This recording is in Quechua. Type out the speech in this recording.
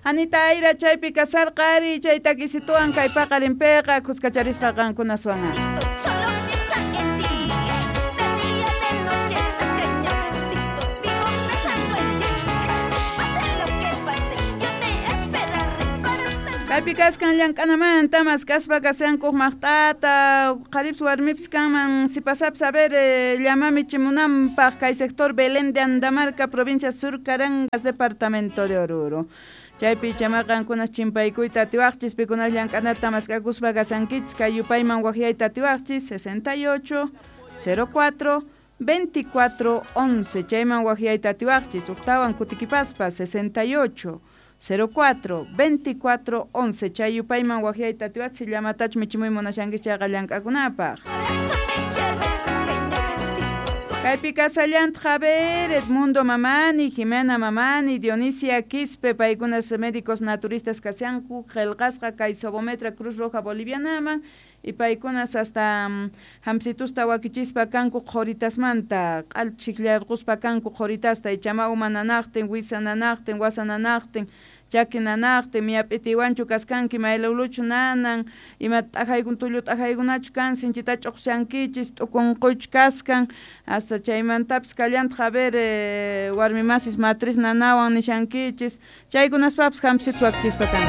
Anita Ayra chaypi kasarqa ari chay takisituwan kay paqarinpiqa kuskacharisqa qankunaswan. Solo piensa en ti. De día, de noche, chasqueño, vivo pensando en ti. Pase lo que pase, yo te esperaré para estar. Kaypi kaskan llank'anamanta maskaspa kashankuq maqt'ata qharipis warmipis kanman sipasapis a ver llama michimunanpaq kay sector Belén de Andamarca, provincia Sur Carangas, departamento de Oruro. Chaypi chamaqankunas chimpaykuyta atiwaqchis pikunas llank'anata mask'akuspa kashankichis kay yupayman waqyayta atiwaqchis 68 04 24 11 chayman waqyayta atiwaqchis uqtawan kutikipaspa 68 04 24 11 chay yupayman waqyayta atiwaqchis llamatach michimuy munashankichis chayqa llank'akunapaq. Por eso te quiero, chasqueño, Kaypi kasallantaq a ver Edmundo Mamani, Jimena Mamani, Dionisia Quispe, paykunas médicos naturistas kashanku qillqasqa kay Sobometra Cruz Roja Bolivianaman y paykunas hasta hamsitusta wakichispa kanku qhuritasmanta q'al chikllarquspa kanku qhuritasta ichama uma nanaqtin, wisa nanaqtin, wasa nanaqtin, chaki nanaqtin, miyap'itiwanchu kaskanki maylawluchu nanan, ima t'ajaykun tullu t'ajaykunachu kan, sinchita ch'uqshankichis, t'ukunquychu kaskan, hasta chaymantapis kallantaq a ver warmi masis matriz nanawan nishankichis, chaykunaspapis hampisitus wakichispa kanku.